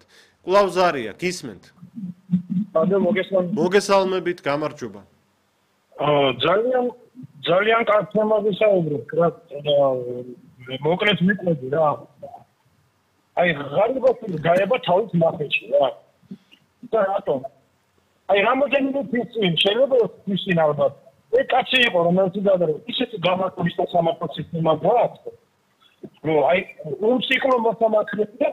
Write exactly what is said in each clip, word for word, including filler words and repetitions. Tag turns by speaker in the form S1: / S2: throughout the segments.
S1: მოგესალმებათ. კვლავ ზარია, გისმენთ?
S2: ანუ მოგესალმებით.
S1: მოგესალმებით, გამარჯობა.
S2: აა ძალიან ძალიან კარგ თემაზე საუბრობთ რა. მოკლედ მიყვები რა. აი ღარიბი გაება თავის მახეში რა. და რატომ? აი რამოდენიმე ფიცინ შეიძლება ფიცინ ალბათ. ეს კაცი იყო რომელიც გადარო ისეთი გამართული სასამართლო სისტემა გააქვს. ნუ აი უნციკლო მოსამართლეები და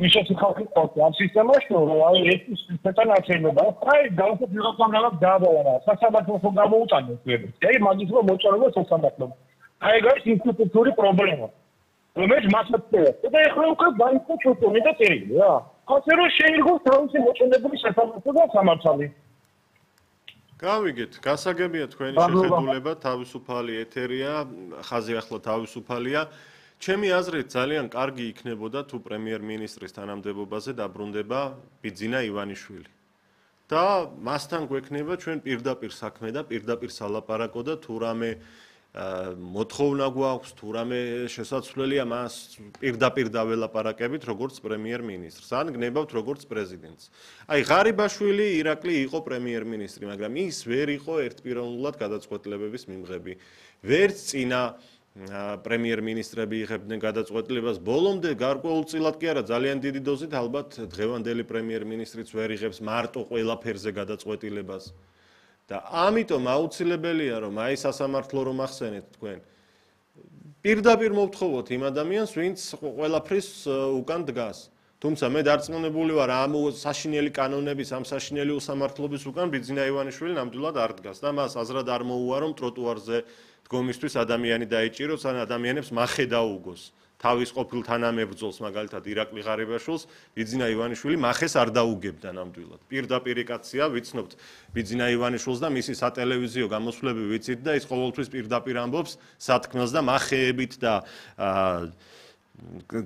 S2: ისეთი ხალხი ყავს ამ სისტემაში რომ აი ეს სისტემა ნაცემება. აი გავხოთ ვიღაცამ დააბალა სასამართლოს გამოუტანეს ვები. აი მაგის რომ მოწონება სასამართლოს. აი გაის ინსტიტუტური პრობლემა. რომელიც მასწავლებელია. და ეხლა უკვე დაიწყო ჩუტონი და წერილი რა. ასე რომ შეიძლება თავისი მოწონებული სასამართლო და სამართალი.
S1: გავიგეთ, გასაგებია თქვენი შეხედულება, თავისუფალი ეთერია, ხაზი ახლა თავისუფალია. ჩემი აზრით ძალიან კარგი იქნებოდა თუ პრემიერ-მინისტრის თანამდებობაზე დაბრუნდება ბიძინა ივანიშვილი. და მასთან გვექნება ჩვენ პირდაპირ საქმე და პირდაპირ სალაპარაკო და თუ რამე მოთხოვნა გვაქვს, თუ რამე შესაძლებელია მას პირდაპირ დაველაპარაკებით როგორც პრემიერ-მინისტრს, ან გნებავთ როგორც პრეზიდენტს. აი ღარიბაშვილი ირაკლი იყო პრემიერ-მინისტრი, მაგრამ ის ვერ იყო ერთპიროვნულად გადაწყვეტილებების მიმღები. ვერც წინა პრემიერ-მინისტრები იღებდნენ გადაწყვეტილებას, ბოლომდე გარკვეულწილად კი არა, ძალიან დიდი დოზით ალბათ დღევანდელი პრემიერ-მინისტრიც ვერ იღებს მარტო ყველაფერზე გადაწყვეტილებას. და ამიტომ აუცილებელია რომ აი სასამართლო რომ ახსენეთ თქვენ პირდაპირ მოვთხოვოთ იმ ადამიანს ვინც ყველაფრის უკან დგას თუმცა მე დარწმუნებული ვარ ამ საშინელი კანონების ამ საშინელი უსამართლობის უკან ბიძინა ივანიშვილი ნამდვილად არ დგას და მას აზრად არ მოუარო ტროტუარზე დგომისთვის ადამიანი დაიჭიროს ან ადამიანებს მახე დაუგოს თავის ყოფილ თანამებრძოლს მაგალითად ირაკლი ღარიბაშვილს ბიძინა ივანიშვილი მახეს არ დაუგებდა ნამდვილად. პირდაპირ კაცია, ვიცნობთ ბიძინა ივანიშვილს და მისი სატელევიზიო გამოსვლები ვიცით და ის ყოველთვის პირდაპირ ამბობს სათქმელს და მახეებით და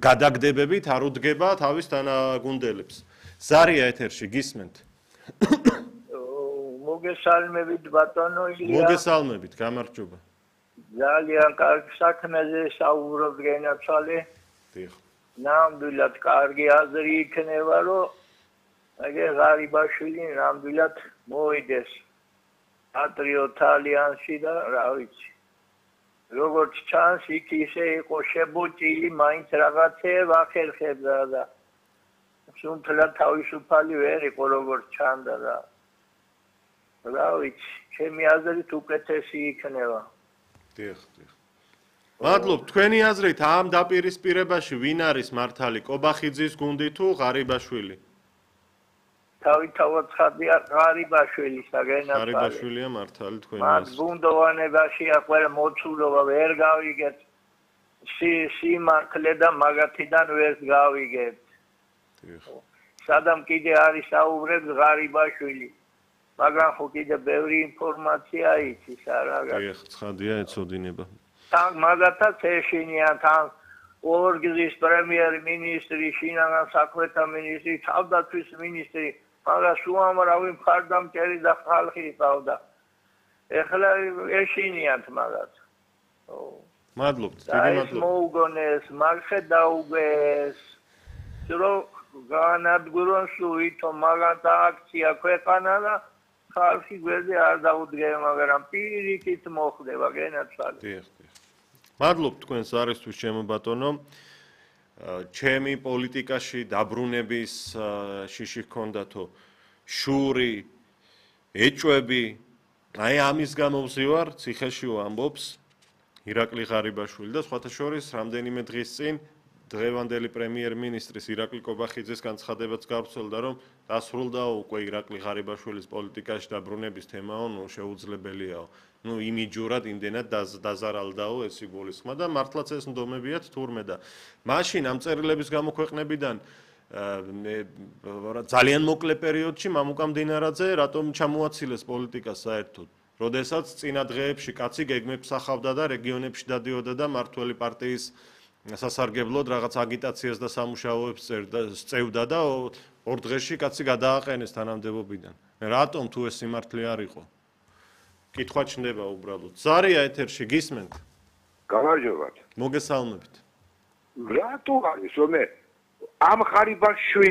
S1: გადაგდებებით არ უდგება თავის თანაგუნდელებს. ზარია ეთერში გისმენთ?
S3: მოგესალმებით ბატონო ილია.
S1: მოგესალმებით, გამარჯობა. ძალიან
S3: კარგ საქმეზე საუბრობ გენაცვალე.
S1: დიახ.
S3: ნამდვილად კარგი აზრი იქნება, რომ აგე ღარიბაშვილი ნამდვილად მოიდეს პატრიოტ ალიანსში და რა ვიცი. როგორც ჩანს, იქ ისე იყო შებუჭილი, მაინც რაღაცეებ ახერხებდა და სულ თავისუფალი ვერ იყო როგორც ჩანდა და რა ვიცი, ჩემი აზრით უკეთესი იქნება.
S1: დიახ, დიახ. მადლობ, თქვენი აზრით ამ დაპირისპირებაში ვინ არის მართალი, კობახიძის გუნდი თუ ღარიბაშვილი?
S3: თავი-თავად ხადია ღარიბაშვილი საგენაცვალე.
S1: ღარიბაშვილია მართალი თქვენი
S3: აზრით. მას გუნდოვანებაში ყველა მოცულობა ვერ გავიგეთ. სიმართლე და მაგათიდან ვერ გავიგეთ.
S1: დიახ.
S3: სადამ კიდე არის საუბრებს ღარიბაშვილი. მაგრამ ხო კიდე ბევრი ინფორმაცია იცის რა რა.
S1: დიახ, ცხადია ეცოდინება.
S3: თან მაგათაც ეშინიან თან ორგზის პრემიერ-მინისტრი, შინაგან საქმეთა მინისტრი, თავდაცვის მინისტრი, მაგრამ უამრავი მხარდამჭერი და ხალხი ყავდა. ეხლა ეშინიანთ მაგათ.
S1: მადლობთ, დიდი
S3: და ეს
S1: მადლობა.
S3: მოუგონეს, მარხე დაუგეს. რომ განადგურონ სუიტო მაგათ აქცია ქვეყანა და ხალხი გვერდზე არ დაუდგება, მაგრამ პირიქით მოხდება გენაცვალე.
S1: დიახ, დიახ. მადლობ თქვენს არისთვის ჩემო ბატონო. ჩემი პოლიტიკაში დაბრუნების შიში ჰქონდათო შური, ეჭვები, აი ამის გამო ვზივარ, ციხეში ვამბობს ირაკლი ღარიბაშვილი და სხვათა შორის რამდენიმე დღის წინ დღევანდელი პრემიერ-მინისტრის ირაკლი კობახიძის განცხადებაც გავრცელდა, რომ დასრულდა უკვე ირაკლი ღარიბაშვილის პოლიტიკაში დაბრუნების თემაო, ნუ შეუძლებელიაო. ნუ იმიჯურად იმდენად დაზარალდაო ეს იგულისხმა და მართლაც ეს ნდომებიათ თურმე და მაშინ ამ წერილების გამოქვეყნებიდან ძალიან მოკლე პერიოდში მამუკა მდინარაძე რატომ ჩამოაცილეს პოლიტიკას საერთოდ. როდესაც წინა დღეებში კაცი გეგმებს ახავდა და რეგიონებში დადიოდა და მართველი პარტიის სასარგებლოდ რაღაც აგიტაციას და სამუშაოებს წევდა და ორ დღეში კაცი გადააყენეს თანამდებობიდან. რატომ თუ ეს სიმართლე არ იყო? კითხვა ჩნდება უბრალოდ. ზარია ეთერში გისმენთ?
S4: გამარჯობათ.
S1: მოგესალმებით.
S4: რატო არის რომ ამ ღარიბაშვილი